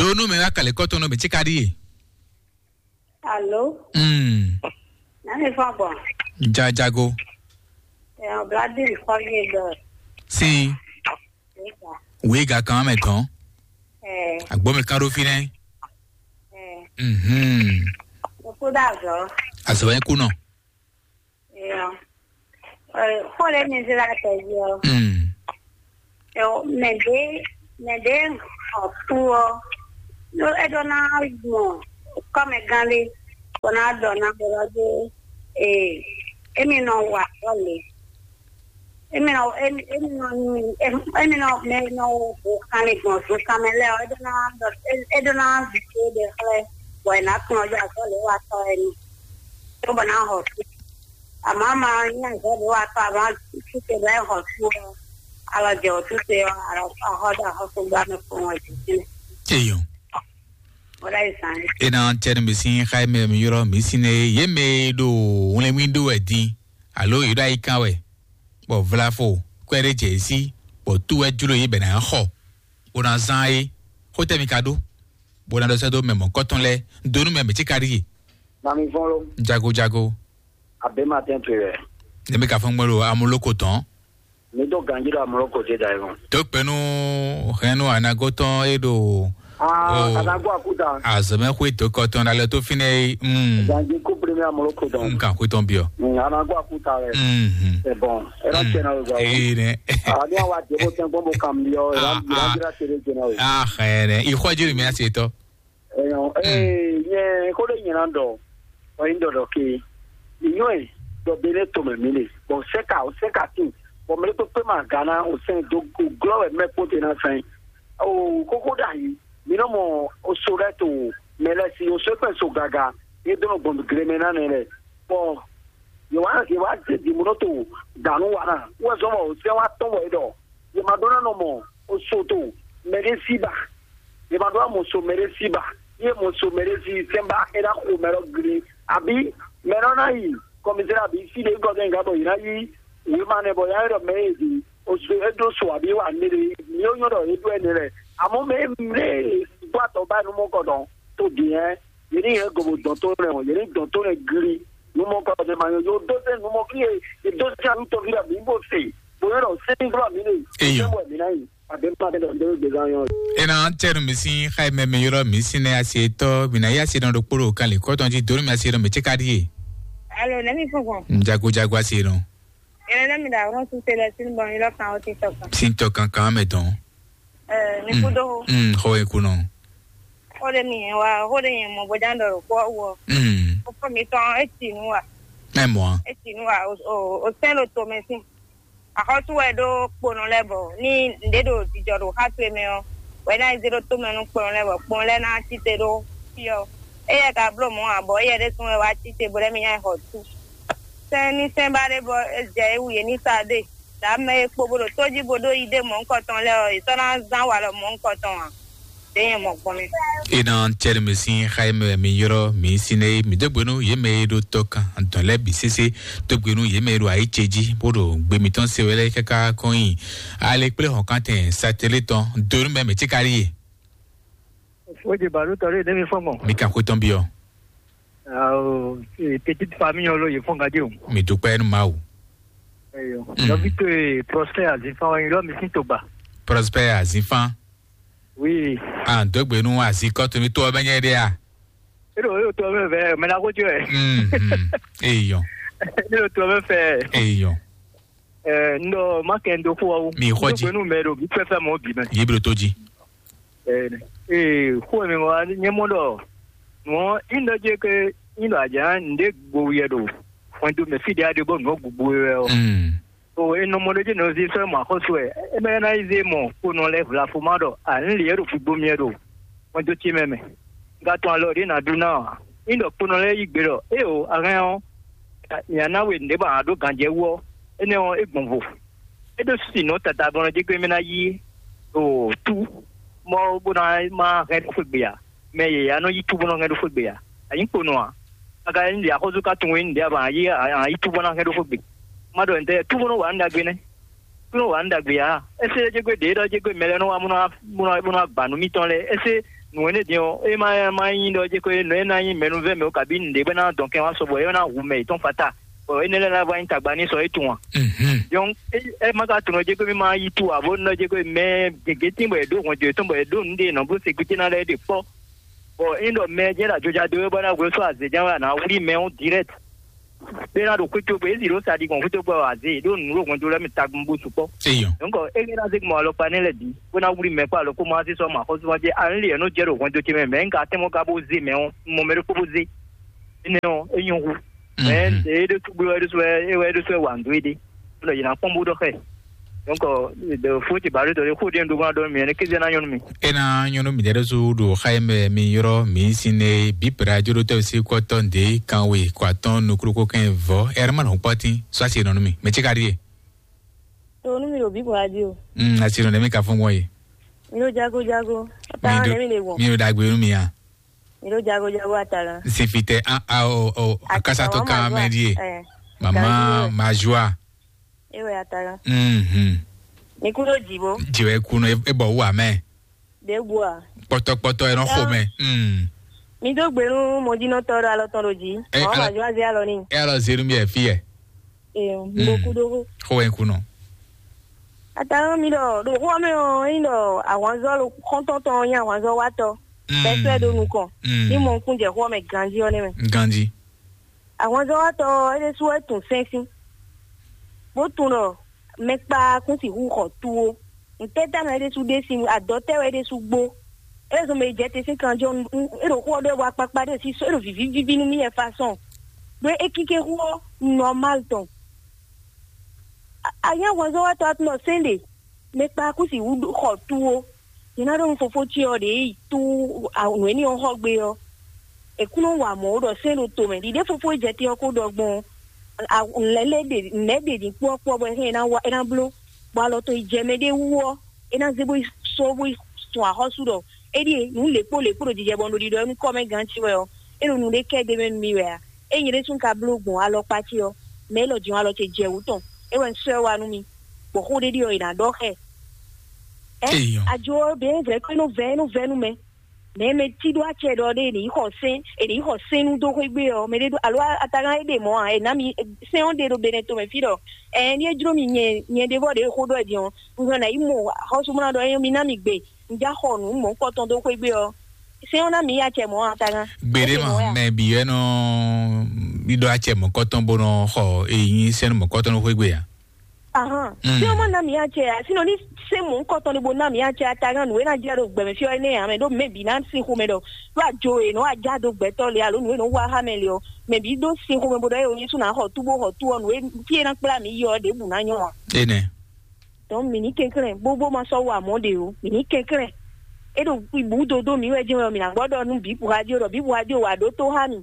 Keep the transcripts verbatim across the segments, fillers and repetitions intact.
Ɖó nú mɛ wá kalɛ kɔ́tɔn nú mɛ tí ka ɖíe. Alo, Mm. Nani fɔ gbɔn. Jajago. Ɛ, ɔbladi fɔ yé dɔ. Sin. Nígbà. Wíga kan mɛ tɔn. Ɛ, Agbó mi kan ɖó fínɛ́. Ɛ, Mhm. Òkú dàzọ. Azɔ yẹn kú nɔ. Ɛ, ɛ, kó lè ní zira tẹ̀lé ọ. Mm. Ɛ, mɛ ɖé, mɛ ɖé ɔ kú ọ. Ló é ɖó ná mɔ kɔ́mɛgán lé, bó ná ɖɔ ná bó ná dó. Ee, émi nɔ wa azɔ̌ lě. Émi nɔ, émi, émi nɔ, émi nɔ, mɛ nɔ wo kanlin gbɔn zunkanmɛ lɛ́ɛ ɔ́, é ɖó ná ɖɔ, é ɖó ná zǐ tó ɖe xlɛ́, bɔ è nǎ kplɔ́n ɔ́ azɔ̌ lě wa tɔ́ wɛ ni. Tó bɔ ná hɔ sú. Àmọ́ a ma nyí azɔ̌ lě wa tɔ́, a ma sú te bɔ é hɔ sú ɔ́, alɔ jɛ wǒ sú te ɔ́, alɔ axɔ ɖo axɔ́súgbá mɛ kpɔ́n wɛ jǐ sín. Eyɔn. Wọ́n ɖ'ayǐ zán. E na tɛ nu mi sín xá mɛ mi ylɔ́ mi sín é, yě mɛ e ɖo wlɛnmí ɖó wɛ din, alo yě ɖo ayi kan wɛ, bɔ vlafo kwɛ́ ɖé jɛ yě sí, bɔ tú wɛ jló yě bɛ ná xɔ, bó ná zán é. Xó tɛ́ mi ka ɖó, bó ná ɖɔ sɛ́ dó mɛ mɔ̌kɔtɔn lɛ́ɛ, dó nú mɛ mɛ tí ka ɖíe. Mami fɔ́n ló. Jago jago. Abema tɛn to yɛ. Ne mi ka fɔn gbɔ ɖo amuloko tɔn. Mi to ganji ɖo amuloko te da yɔ. To kpɛnu hɛnnu anagotɔn e ɖo. Ah, anago akuta. Azɔmɛ xwe to kɔtɔn na lɛ to finɛ yi. Mm. Ganji ko premier amuloko tɔn. Nka xwe tɔn biɔ. Mm, anago akuta rɛ. Mhm. C'est bon. Era tiɲɛ na o gba. Ee ne. Ani awa debo tɛn gbɔn bo kam biɔ. Era dira tere jena o. Ah, xɛ ne. Ixɔ jiri mi ase tɔ. Ɛyɔ, ee, nyɛ ko ɖe nyɛ na ɖɔ, ɔ nyi ɖɔ ɖɔ ke, nyɔ e ɖɔ be ne to mɛ mi le, bɔ sɛka o sɛka tin, bɔ mɛ ɖe kpekpe ma ga na o sɛn do glɔ wɛ mɛ kpo te na sɛn. O koko ɖe ayi, mi nɔ mɔ o so lɛ to mɛ lɛ si o so kpɛ so gaga, e do nɔ gbɔn gle mɛ na nɛ lɛ, bɔ yě wá yě wá zé dǐmúɖótó dǎnú wa ná wɛ zɔ́n bɔ sɛ́n wá tɔ́n bɔ é ɖɔ yě ma ɖó ná nɔ mɔ oso to mɛ ɖé sí ba. Yě ma ɖó ná mɔ so mɛ ɖé sí ba. Yé mɔ so mɛ ɖé sí sɛ́n ba é ná xo mɛ lɔ gli. Àbí mɛ lɔ ná yi kɔmizɛ́ àbí sí ɖé gɔ́ gɛ́ gǎ bɔ yě ná yí wěma nɛ bɔ yá é ɖɔ mɛ é ɖi oso é ɖó so àbí wà ní ɖe ní ó nyɔ́ ɖɔ é ɖó ɛnɛ lɛ. Àmọ́ mɛ mɛ gbọ́ àtọ̀ báyìí nú mọ́ kɔ dɔn tó dì hɛn. Yě ní yɛ gobo dɔn tó nɛ o, yě ní dɔn tó nɛ gli. Numɔ kɔ ne ma nyɔ, yɔ dó sɛ numɔ kí ye, ye dó sɛ alu tɔvi la mi bó se. Bo yɔrɔ sɛni glɔ mi ne. Eyɔ. Sɛ wɛ mi na yi. A bɛ ma bɛ dɔ dɔ de gan yɔ. Ena tɛnu mi sin xayi mɛ mi yɔrɔ mi sin ne asi etɔ mi na yi asi dɔn ɖokpo ɖo kan le kɔtɔn ji donu mi asi dɔn mi tse ka di ye. Alo, ne mi fún fún. Jago jago asi dɔn. Ena ne mi da ɔrɔn su se lɛ sin bɔn mi lɔ kan o ti tɔ kan. Sin tɔ kankan mɛ dɔn. Ɛ, mi kú dó. Mm, xɔ ye kú nɔ. Xó ɖé mi yẹn wa, xó ɖé yẹn mɔ bó dán ɖɔ ɖo kpɔ́ wɔ. Mm. Xó mi tɔn e ti nu wa. Ɛ mɔ. E ti nu wa, o o o sɛn ɖo to mɛ sin. Axɔ́sú wɛ ɖó kponɔ lɛ́ɛ bɔ ní nɖé ɖo jijɔ ɖo xá towe mɛ ɔ́, wɛ ná yi zé ɖó to mɛ nú kponɔ lɛ́ɛ bɔ kponɔ lɛ́ɛ ná tite ɖó fí ɔ́. Éyɛ́ ka bló mɔ̌ ǎ bɔ éyɛ́ ɖésú wɛ wá tite bó lɛ́ mi nya yi xɔ tú. Sɛn ní sɛn ba ɖé bɔ é jɛ é wu yě ní sa ɖe. Ɖa mɛ e kpo bó ɖo tó jí bó ɖó yi ɖé mɔ̌hunkɔtɔn lɛ́ɛ ɔ́, yě sɔ́ ná zán walɔ mɔ̌hunkɔtɔn ǎ. Ɖě nyɛ mɔ gbɔn mɛ. Ena tɛnu mi sin xayi mɛ mi yɔrɔ mi sin ne mi dó gbenu yé mɛ e ɖo tɔ kan dɔn lɛ bi sese dó gbenu yé mɛ e ɖo ayi ce jí bó ɖo gbe mitɔn se wɛ lɛ kaka kɔn yi ale kple hɔn kan tɛn satɛli tɔn donu mɛ mi tsi kari ye. Fodze baɖo tɔ ɖe ne mi fɔ mɔ. Mi kan xwe tɔn biɔ. Awo, eh, petite famille ɔ́ ló yě fɔ́n gádé o. Mi dúpẹ́ nú Mawu. Eyɔ. Mm. Nɔvi towe Prosper Azinfan wɛ nyí lɔ mi sín togba. Prosper Azinfan. Oui. À ń dɔgbe nú azikɔtɔnitɔ ɔ́ bɛ nyɛ ɖe a? Eɖo eɖo tɔ mɛ vɛ mɛ na ko jɔ ɛ. Mhm. Eyɔ. Eɖo tɔ mɛ fɛ. Eyɔ. Ɛ, n ɖɔ ma kɛ n do xó ɔ́ wú. Mi xɔ jí. N ɖo gbenu mɛ ɖo mi fɛfɛ mɔ bi mɛ. Yiblo tó jí. Ee, xó e mi wá nyɛ mɔ ɖɔ nǔ ɔ́, í ɖɔ jɛ ke í ɖɔ ajá ǹɖe gbo wiɛ ɖo hwɛndo mɛ fí ɖé aɖe bɔ nǔ ɔ́ gugbo wɛ ɔ́. Mm. O e nɔ mɔ ɖé jɛ nɔ zé sɔ́ mɔ axɔ́sú wɛ, é mɛ ná yi zé mɔ kponɔ lɛ́ɛ vlafo ma ɖɔ à ń lě ɖo figbo miɛ ɖo hwɛndo ce mɛ mɛ. Un ka tɔn alɔ ɖě ná ɖu ná ɔ́, í ɖɔ kponɔ lɛ́ɛ yí gbe ɖɔ éeǒ, a hɛn ɔ́, mǐ ná ná we nǔɖé bɔ a nǎ ɖó ganjɛ wú ɔ́, énɛ́ ɔ́, é gbɔn vo. É ɖó sinɔ tata bɔ nɔ jɛ gbé mɛ ná yí ɖo tú mɔ bó ná má hɛn ɖó xwé gbe ǎ. Mɛ yě ya nɔ yí tú bó nɔ hɛn ɖó xwé gbe ǎ. A nyǐ kponɔ ǎ. A ka nyí ɖě axɔ́sú ka tunwun é nǔɖé a ba a yí a yí tú bó ná hɛn ɖó xwé gbe. Má ɖɔ ntɛ́ tú bó nɔ wa nǔ ɖagbe nɛ́. Tú nɔ wa nǔ ɖagbe ǎ. É sé jɛ gbé ɖě ɖɔ jɛ gbé mɛ lɛ́ɛ nɔ wá bó nɔ wá bó nɔ wá ba nǔ mitɔn lɛ́ɛ. É sé Nǔ énɛ́ din ɔ́, é ma ma nyí ɖɔ jɛ ko nǔ e ná nyí mɛnúvɛ́ mɛ o, kabí nǔɖé bɔ é ná dɔn kɛn wá sɔbɔ é ná hu mɛ yětɔn fata, bɔ énɛ́ lɛ́ɛ ná vá nyí tagba ní sɔ é tunwun a? Mhm. Donc é é ma ka tunwun jɛ ko mì ma yi tu abo nɔ jɛ ko mɛ gěgé tín bɔ è ɖó hwɛndo yětɔn bɔ è ɖó nǔɖé nɔ bó sécurité ná lɛ́ɛ ɖe kpɔ́. Bɔ é ɖɔ mɛ jɛ ɖo ajɔja dó é bɔ ná hwɛ sɔ azě ján wɛ a nǎ wlí mɛ ɔ́ direct. Bena ɖo xwétogbe, ezi ɖo sa ɖi gbɔn xwétogbe ɔ azé ɖo nǔ ɖo hwɛndo lɛ́ɛ mi tagun bó sukpɔ́. Eyɔ. Donc ege ná zé gbɔn alɔkpa nɛ lɛ bǐ bó ná wuli mɛ kpó alɔ kó má zé sɔ́ ma xɔ́súmɔ jɛ alin lɛ nɔ jɛ ɖo hwɛndo ce mɛ mɛ nka tɛmɔ ka bó zé mɛ ɔ́ mɔ mɛ ɖokpó bó zé. Énɛ́ ɔ́ é nyɔ hu. Mɛ Mhm. Ede ɖésú gbé wɛ ɖésú wɛ é wɛ ɖésú wɛ wǎ nǔ dó éɖé. Bó nɔ yě ná kpɔ́n bó ɖɔ xɛ. Donc de fó ce ba ɖo dɔ ɖé xó ɖé ɖó gbɔn ɖɔ mi ɛnɛ kéze ná nyɔnu mi. Ena nyɔnu mi ɖe ɖésú ɖo xa yi mɛ mi yrɔ mi sin ne bíbra jodotɔ si kɔtɔ nde kanwe kɔ atɔn nukuru ko kɛn vɔ ɛrɛ ma nɔ kpɔtin sɔ asi nɔ mi mɛ tsi ka ɖie. Tonu mi ɖo bíbra jí o. Mm, asi nɔ mi ka fún gbɔn ye. Mi ɖo jago jago. Ata ne mi le wɔ. Mi ɖo dagbe nu mi ya. Mi ɖo jago jago ata la. Sifitɛ a a o o akasa to kan mɛ die. Mama majua. Ewe ata la. Mhm. Mi ku ɖo jibo. Jiwe ku no e bɔ wu amɛ. Ɖěbǔ a? Kpɔtɔkpɔtɔ e nɔ xo mɛ. Mm. Mi dó gbe nú mɔjínɔtɔ ɖo alɔ tɔn ɖo jí. Ɛ, mɔ̌ ala- ma zɔ́ azé alɔ n'i. E alɔ zenu mi ɛ fi yɛ. Ee, mo kú ɖó. Xo wɛ ku nɔ. Atalɔ mi ɖɔ ɖo xó mɛ ɔ́, ényí ɖɔ ahwanzɔ xɔntɔn tɔn nyí ahwanzɔ watɔ. Mm. Bɛsɛ ɖo nukɔn. Mm. Ní mɔ kún jɛ xó mɛ ganjí ɔ́ nɛ́ mɛ. Ganjí. Ahwanzɔ́watɔ́ ɔ́, é ɖésú wɛ tunwun sɛ́n sín, bó tunwun ɖɔ mɛ kpaa kún sixú xɔ túwó. Ntɛ́ ta mɛ é ɖésú ɖe sín adɔ tɛ́ wɛ é ɖésú gbó? É zɔn mɛ jɛ te sín kanjɔ é ɖo xó ɔ́ ɖɔ wɛ akpakpa ɖé sí é ɖo vǐví víví nú mì wɛ fasɔn. Ɖó é kíké xó ɔ́ nɔmál tɔn. Anyá ahwanzɔ́watɔ́ ɔ́ tunwun ɖɔ sɛ́n ɖe mɛ kpaa kún sixú xɔ túwó. Yě ná ɖɔ nú fofó ce ɔ́ ɖě yi tú nǔ énɛ́ ɔ́ xɔ gbé ɔ́, è kún nɔ wa mɔ̌ ɖɔ sɛ́n ɖo tomɛ. Ɖiɖe fofó e jɛ te ɔ́ ko ɖɔ gbɔn lɛ́ lɛ́ ɖe nɛ̌ ɖe ní kpɔ́ kpɔ́ bɔ é ná wa é ná bló, bɔ alɔ tɔn yi jɛ mɛ ɖé wú ɔ́, é ná zé bó yi sɔ́ bó yi sun axɔ́sú ɖɔ é ɖíe nǔ lěkpó lěkpó ɖo jijɛ bɔ un ɖo ɖiɖɔ nú kɔ́ mɛ gán ce wɛ ɔ́, é ɖo nǔɖé kɛ ɖ'é mɛ nú mì wɛ a? É nyɛ ɖésú un ka bló gbɔn alɔkpa ce ɔ́, mɛ élɔ́ din alɔ ce jɛ wǔ tɔn, é wɛ un sɔ́ ɛ wá nú mi, bɔ xó ɖé ɖi ɔ́, è nǎ ɖɔ xɛ. Ɛ Eyɔn. Ajo ɔ́ ɖě vɛ̌ kpé nɔ vɛ́ nɔ vɛ́ nú mɛ. Mɛ mɛ tí ɖó acɛ ɖɔ ɖé è nǐ xɔ sɛ́n è nǐ xɔ sɛ́n nú dó xwé gbé ɔ́, mɛ ɖé ɖó alo atagán é ɖe mɔ̌ ǎ, è nǎ mi sɛ́n ɔ́ ɖe ɖo Benɛto mɛ fí ɖɔ ɛ ní é jló mi nyɛ nyɛ ɖé vɔ ɖě xó ɖɔ ɛ din ɔ́, un hɛn ná yi mɔ xɔ́súmúná ɖɔ é mi ná mi gbe un já xɔ nǔ mɔ̌kɔtɔn dó xwé gbé ɔ́, sɛ́n ɔ́ ná mi yi acɛ mɔ̌ atagán. Gbeɖé ma mɛ bǐ wɛ nɔ ɖiɖɔ acɛ mɔ̌kɔtɔn bó nɔ xɔ èyí sɛ́n mɔ̌kɔtɔn nɔ xwé gbé ǎ. Ahán. Mm. Tí ọmọ náà mi á jẹ àti nọ ní sẹ́mu ńkọ́ tán ni bo náà mi á jẹ atagan nùwé náà jẹ́ ro gbẹ̀mí fí ọ́ ní àmì ló mẹ́bí náà sí xomẹ dọ̀ ló àjò ènà àjá do gbẹ́tọ́ lé alo nùwé náà wá hámẹ́ lé ọ́ mẹ́bí dó sí xomẹ bó dọ́ yẹ oyin sún náà xɔ túbó xɔ tú ọ́ nùwé fí é ná kplá mi yí ọ́ ɖěbù náà nyọ́ ọ́. Enɛ. Dɔn mì ní kɛnklɛn bó bó ma sɔ́ wɔ àmọ́ ɖe o mì ní kɛnklɛn. É ɖo ibú dodó mi wɛ jẹ́ wɛ mì nà gbọ́ ɖɔ nú bǐ radio ɖɔ bǐ radio wà ɖó tó há mi.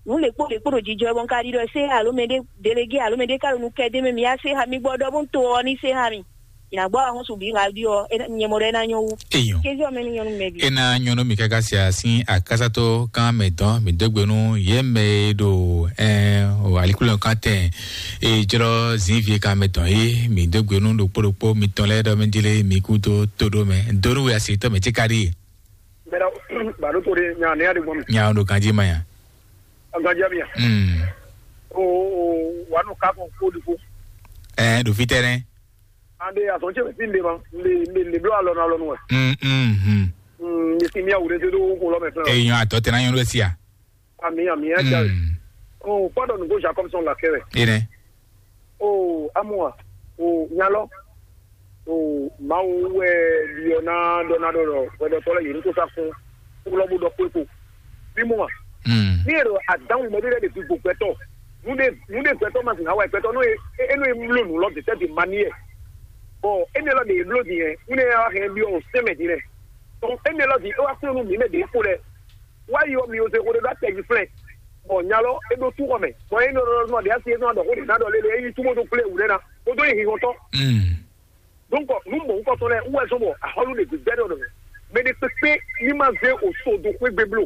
Nǔ lěkpó lěkpó ɖo jijɔ ɛ bɔ un ka ɖiɖɔ sé alo mɛɖé delege alo mɛɖé ka ɖo nu kɛ dé mɛ mi ya sé ha mi gbɔ ɖɔ bó un to ɔ ní sé ha mi. Yìnà gbɔ ahɔn su bí radio ɔ nyɛ mɔ ɖɔ é ná nyɔ wú. Eyɔn. Kézí ɔmɛ ní nyɔnu mɛ bi. E na nyɔnu mi kaka sia sin akasato kan mɛ dɔn mi dogbe nu ye mɛ ɖo ɛ o alikulɔ kan tɛ e jlɔ zinvie kan mɛ dɔn ye mi dogbe nu ɖokpo ɖokpo mi tɔn lɛ ɖɔ mi dile mi kudo todo mɛ donu we asi tɔ mɛ tsi ka ɖi. Mɛra baro to de nya ne ya de gbɔn mi. Nya o ɖo ganji ma ya. Ganji mi ya. Mm. O o wa no ka ko ko di ko. Ɛ ɖo fi tɛ nɛ. Ande asɔn ce mi ti nde ma nde nde nde blo alɔ na alɔ nu wɛ. Mm mm mm. Mm, mi si mi awure de do ko lɔ mɛ fɛn. Eyɔn atɔ tɛ na yɔn ɖo sia. Ami ami ya ja. Mm. O kpɔdɔ nugo Jacob sɔn la kɛ wɛ. Ene. O amua o nyalɔ. O Mawu wɛ ɖiɔ ná ɖɔ ná ɖɔ ɖɔ hwɛɖɔtɔ lɛ yě ní kó sá fún kplɔ́ bó ɖɔ kpékpo. Bí mɔ a? Mm. Ní èrò àdánwò mɛ ɖé lɛ́ɛ ɖe gbogbo gbɛtɔ. Nú ɖe nú ɖe gbɛtɔ ma sìn hawa gbɛtɔ nú e e nú e mló nǔ lɔ dètɛ di ma ní yɛ. Bɔ émi lɔ ɖe e bló di yɛ nú ne wá hɛn byɔ o sɛmɛ di lɛ. Tɔn émi lɔ di e wá kplɔ́ nú mǐ mɛ ɖě kpo lɛ. Wá yi ɔ mi o se xo ɖe ɖó atɛ jí flɛ. Bɔ nya lɔ e ɖó tú xɔ mɛ. Bɔ e nɔ ɖɔ ɖɔ ɖe asi e nɔ ɖɔ xo ɖe ná ɖɔ lele e yi túbɔ ɖó kplé wǔ ɖe ná. Kódó yi hihɔntɔ. Mm. Donc, nú mɔ̌hunkɔtɔn lɛ́ɛ wú wɛ zɔ́n bɔ axɔ́lú ɖě gbígbɛ́ ɖɔ nɔ mɛ ɖé kpékpé ní ma zé o so do xwé gbe bló.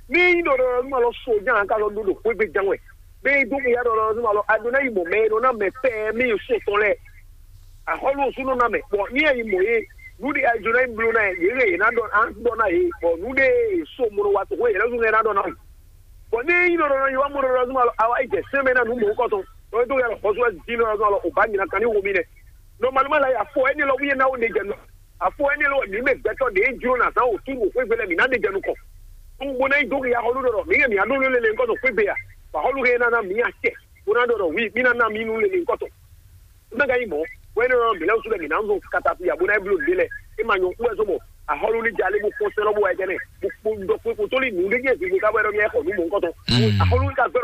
Ní nyí ɖɔ ɖɔ nú alɔ so ján ka lɔ ɖó ɖo xwé gbe ján wɛ. Bé dó ya ɖɔ ɖɔ nú alɔ ado ná yi mɔ mɛ e nɔ ná mɛ pɛ́ mí yi so tɔn lɛ́ɛ. Axɔ́lú osú nɔ ná mɛ, bɔ ní ɛ yi mɔ yé Nǔɖé a jló ná yi bló ná yě, yě ná ɖɔ, a ɖɔ ná yě, bɔ nǔɖé so mɔnɔ wa tɔxwé yě lɛ́ zún ná ɖɔ ná wǔ. Bɔ ní yín nɔ ɖɔ ná yi wá mɔnɔ ɖɔ zún alɔ awa yi jɛ sɛn mɛ ná nǔ mɔ̌ kɔtɔn, ɖɔ é dó yà lɔ xɔsú wɛ dín nɔ zún alɔ ò bá nyina kan ní wo mi nɛ. Nɔmalima la yi afɔ ɛni lɔ wíyé ná wo ɖe jɛ nɔ. Afɔ ɛni lɔ wɛ mǐ mɛ gbɛtɔ ɖě jló ná zán wò tú wò xwé gbé lɛ mǐ ná ɖe jɛ nukɔn. Un bo ná yi dó ya xɔlú ɖɔ ɖɔ mǐ kɛ mǐ á ɖó nú lele ŋkɔtɔn xwé gbé ya. Bɔ xɔlú hɛ ná ná mǐ acɛ, bó ná ɖɔ ɖɔ wí mí ná ná mí nú lele ŋkɔtɔn. Mɛ ka nyí mɔ̌, wɛ́nú ɔ́, mǐ lɛ́ wútu lɛ́ mǐ ná zɔn katapi abo ná blo ɖě lɛ́ɛ. É ma nyɔ kú wɛ zɔn mɔ axɔ́lú ní jalé bó kpɔ́n sɛ́n lɔ bó wá jɛ nɛ. Bó kpó ɖɔ kpó kpó tó lí nǔ ɖé nyɛ zǐngbó ká bɔ é ɖɔ nyɛ xɔ nǔ mɔ̌hunkɔtɔn. Axɔ́lú ní ka gbɛ́